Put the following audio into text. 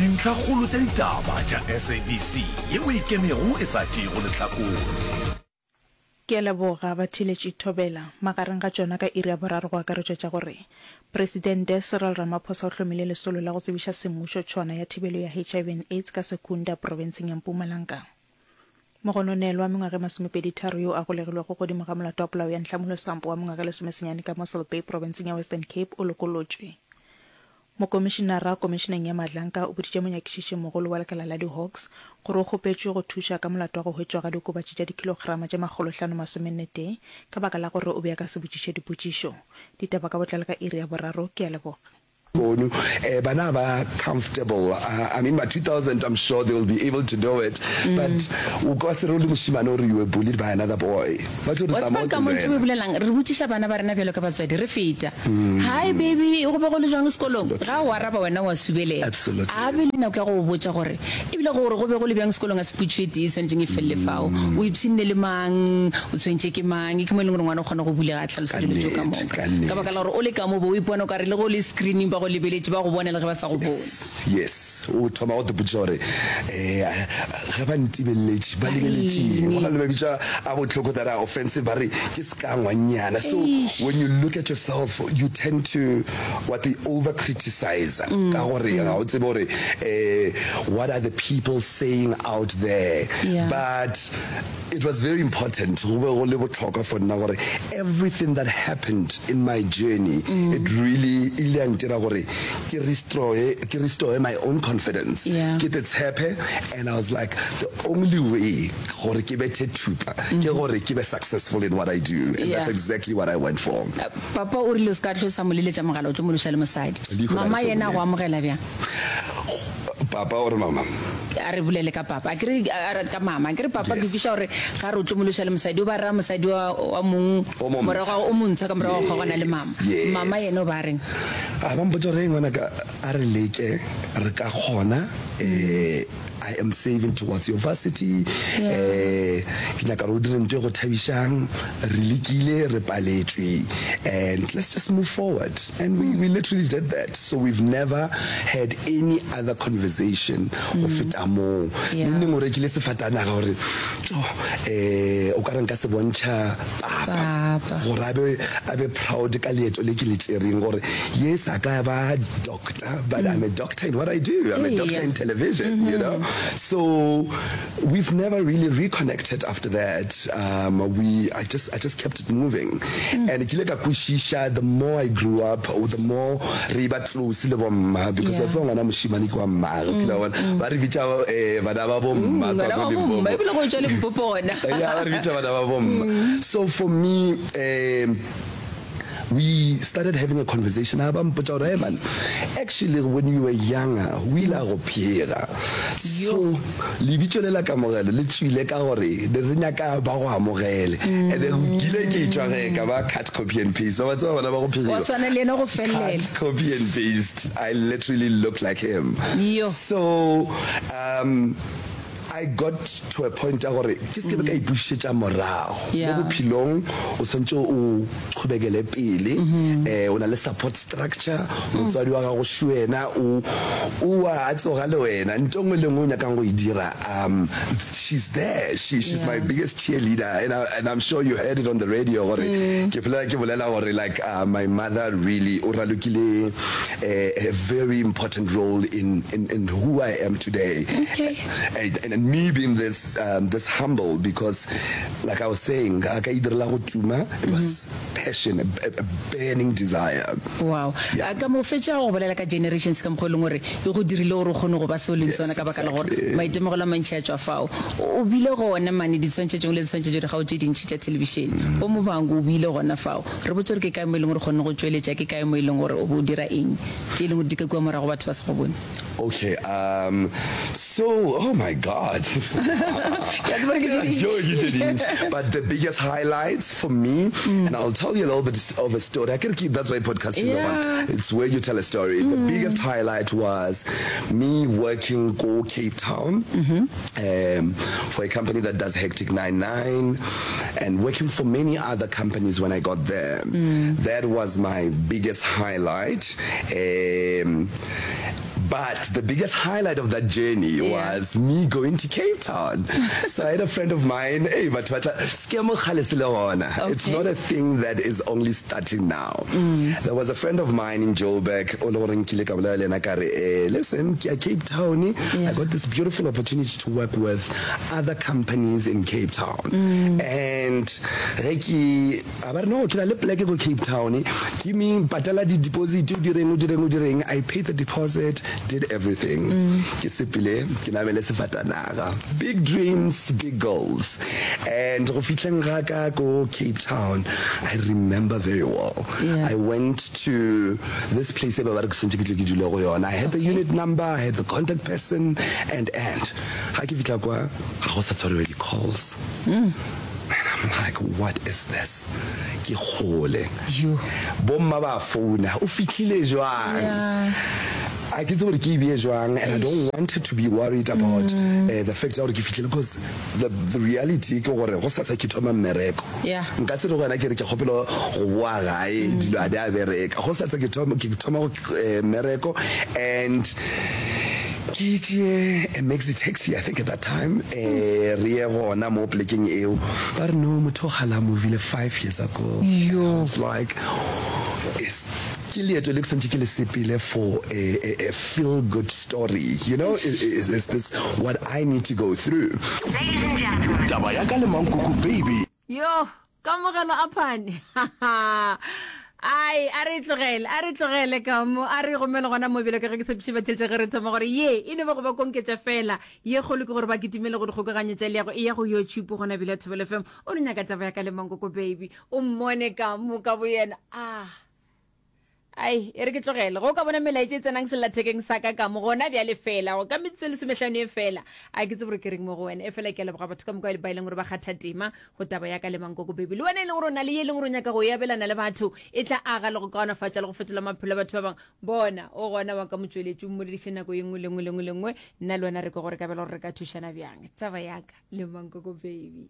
Dintlhakgolo tša ditaba tša SABC yeo e ikemego e sa tšeego lehlakore. Ke a leboga, batheeletši Thobela. Magareng ga tšona ka iri ya boraro go akaretšwa tša gore Presidente Cyril Ramaphosa o hlomile lesolo la go tsebiša semmušo tšhwana ya thibelo ya HIV and Aids ka Secunda profenseng ya Mpumalanga. Mogononelwa wa mengwaga e masomepeditharo yo a golegilwego godimo ga molato wa polao ya Nhlamulo Sampo wa mengwaga e lesomesenyane ka Mossel Bay profenseng ya Western Cape o lokolotšwe. Mokomišinara Komišeneng ya Madlanka o boditše monyakišišimogolo wa lekala la di-Hawks gore o kgopetšwe go thuša ka molato wa go hwetšwa ga diokobatši tša dikhilograma tše makgolohlano-masomennetee ka baka la gore o be a ka se botšiše dipotšišo. Ditaba ka botlalo ka iri ya boraro. Ke a leboga. Lehono bana ba comfortable I mean ma 2000 I'm sure they will be able to do it but o ka se re o le mošemane o re you were bullied by another boy ba tlo re Wa tsamaya tseba o ka mo ntho e tlo bolelang, re botšiša bana ba rena bjalo ka batswadi re feta. Hi baby, go be go le jwang sekolong? Ga o araba wena wa subelela. Absolutely. A be le nako ya go go botša gore ebile gore go be go le bjang sekolong a se potšišo e tee e swanetšeng e felele fao. O ipshinne le mang? O tshwentše ke mang? Ke mo e leng gore ngwana o kgona go bulega a hlalosa Ka dilo tšeo ka nnete, moka. ka Ka baka nnete. la gore o le ka mo bo o ipona o ka re le ge o le screening ba go lebeletše, ba go bona le ge ba sa go bone. Yes, yes. O thoma go te potšiša gore um ge ba ntebeleletše ba Ba lebeletše eng? Go reng? na le mabitso a bohloko that are offensive ba re ke ska ngwannyana. So Eish. when you look at yourself you tend to what they over criticize ka gore ga o tsebe gore um what are the people saying out there. Yeah. But it was very important, go be go le bohlokwa for nna gore everything that happened in my journey it really e ile ya ntira gore ke restroye ke restore my own confidence, Yeah. ke te tshepe and I was like the only way gore ke bethe thupa ke gore ke be successful in what I do and Yeah. that's exactly what I went for. Papa o rile o se ka tlo sa mo leletša mogala o tlo mo loša le mosadi. Leihlo la Mama re se yena a go bolele. amogela bjang? Papa or mama? A re bolele ka papa. A ke re a re ka mama. A ke re papa ke Yes. kwešiša gore ga re o tlo mo loša le mosadi o ba raya mosadi wa wa mong O mo morago ga o montshwa ka morago ga go kgaogana le mama. Yes, yes. Mama yena o ba reng? A ba mpotša gore, Hei ngwanaka, a re leke, re ka kgona, eh, I am saving towards your varsity, Yeah. eh, ke nyaka gore o dire ntho e go thabišang, re lekile, re paletšwe, and let's just move forward. And we, we literally did that. So we've never had any other conversation go feta moo. Yeah. Neng neng o rekile sefatanaga gore, tjo, eh, o ka re nka se bontšha papa, Papa. gore a be, a be proud ka leeto le ke le tšereng, gore yes, a ka ba doctor, but I'm a doctor in what I do. I'm a doctor Eya. in television, you know. So we've never really reconnected after that. Um, we, I just, I just kept it moving. And ke ile ka kwešiša the more I grew up, or the more re ba close le bomma, because Yeah. wa tseba ngwana mošemane ke wa mmagwe, o kile wa bona, ba re bitša eh, bana ba bomma kwa Bana ko ba bomma, Limpopo. ebile go tšwa Limpopo gona. Yeah, ba re bitša bana ba bomma. So for me, um, we started having a conversation a ba mpotša gore hey man actually when you were younger o ile a go phega so lebitso le la kamogelo le tswile ka gore ne re nyaka ba go amogele and then ke ile ke tšwa ge ka ba cut copy and paste wa tseba bana ba go Wa phegiwa tshwana le yena go fellela. cut copy and paste I literally look like him Yo. so um I got to a point ya gore ke se ke be ka ipušetša morago mo Yeah. bophelong. O swanetše o qhobekele pele, um o na le support structure, motswadi wa gago šo yena o o a tsoga le wena, nto nngwe le nngwe o nyakang go e dira, um she's there, she, she's my Yeah. biggest cheerleader and, I, and I'm sure you heard it on the radio gore ke phela ke bolela gore like uh, my mother really o ralokile a, a very important role in, in, in who I am today. Okay. And, and, and me being this, um, this humble because like I was saying, ga ka idirela go tuma, it was passion, a, a, a burning desire. Wow. Yeah. A ka mo fetša go bolela ka generations ka mokgwa e leng gore e go dirile gore o kgone go ba se o leng Yes, sona ka baka la gore exactly. maitemogelo a mantši a tšwa fao. O bile gona mane ditshwantšhetšong le ditshwantšhetšo dikgao tše dintši tša thelebišene. Bo Muvhango o bile gona fao. Re botše gore ke kae mo e leng gore o kgonne go tšweletša, ke kae mo e leng gore o be o dira eng, tše e leng gore di ka kua morago batho ba sa go bone. Okay, um, so, oh my God. Ke a tseba gore ke tše Tšeo ke tše dintši. dintši. But the biggest highlights for me, and I'll tell you a little bit of a story. Akere ke, that's why podcasting, Yeah. it's where you tell a story. The biggest highlight was me working ko Cape Town um, for a company that does Hectic 99 and working for many other companies when I got there. That was my biggest highlight. Um, But the biggest highlight of that journey Yeah. was me going to Cape Town. So I had a friend of mine, hey, batho ba tla, scam kgale se le gona. It's Okay. not a thing that is only starting now. There was a friend of mine in Joburg, o le gore nkile ka bolela le yena ka re, eh, listen, ke ya Cape Town. I Yeah. got this beautiful opportunity to work with other companies in Cape Town. And ge ke, a ba re, no, ke na le pleke ko Cape Town. Give me, patala di deposit, o direng, o direng, o direng. I paid the deposit, did everything. Ke sepele, ke namele sefatanaga. Big dreams, big goals. And go fihleng ga ka ko Cape Town, I remember very well. Yeah. I went to this place e ba ba re ke swantše ke tle ke dule go yona. I had the Okay. unit number, I had the contact person, and, and. Ga ke fihla kwa, ga go sa tshwariwa di-calls. And I'm like, what is this? Ke kgole. Yo. Bomma ba founa, o fihlile jwang? Yeah. A ke tsebe gore ke e beye jwang, and I don't want her to be worried about uh, the fact ya gore ke fihlile because the, the reality ke gore go sasa ke thoma mmereko. Yeah. Nka se re go wena ke re ke kgopela go boa gae dilo a di a bereka. Go sasa ke thoma ke thoma go eh, mmereko and ke tšee a maxi taxi I think at that time eh re ye gona mo plekeng eo ba re no motho o kgale a movile 5 years ago and I was like is ke leeto le ke swantše ke le sepele for a, a, a feel good story you know is, is, is this what I need to go through Taba ya ka le Mankoko baby. Yo, kamogelo a phane. Ai, a re tlogele, a re tlogele ka mo, a re gomele gona mo bjalo ka ge ke tshepiše batheetša ge re thoma gore ye e no ba go ba konketša fela. Ye kgolo ke gore ba kitimele go dikgokaganyo tša leago, e ya go YouTube gona bjale ya Thobela FM. O no nyaka taba ya ka le Mankoko baby, o mmone ka mo ka boyena. Ah. Ai, e re ke tlogele. Ge o ka bona melaetša e tsenang sellathekeng sa ka ka mo, gona bjale fela, go ka metsotso e lesomehlano e fela. A ke tsebe gore ke reng mo go wena. Efela ke a leboga batho ka moka ba e leng gore ba kgatha tema go taba ya ka le Mankoko Baby. Le wena e leng gore o na le ye e leng gore o nyaka go e abelana le batho, e tla aga le go kaonafatša le go fetola maphelo a batho ba bangwe. Bona, o gona wa ka motšweletši, o mmolediše nako ye nngwe le nngwe le nngwe le nngwe. Nna le wena re kwe gore ka bjale gore re ka thušana bjang. Taba ya ka le Mankoko Baby.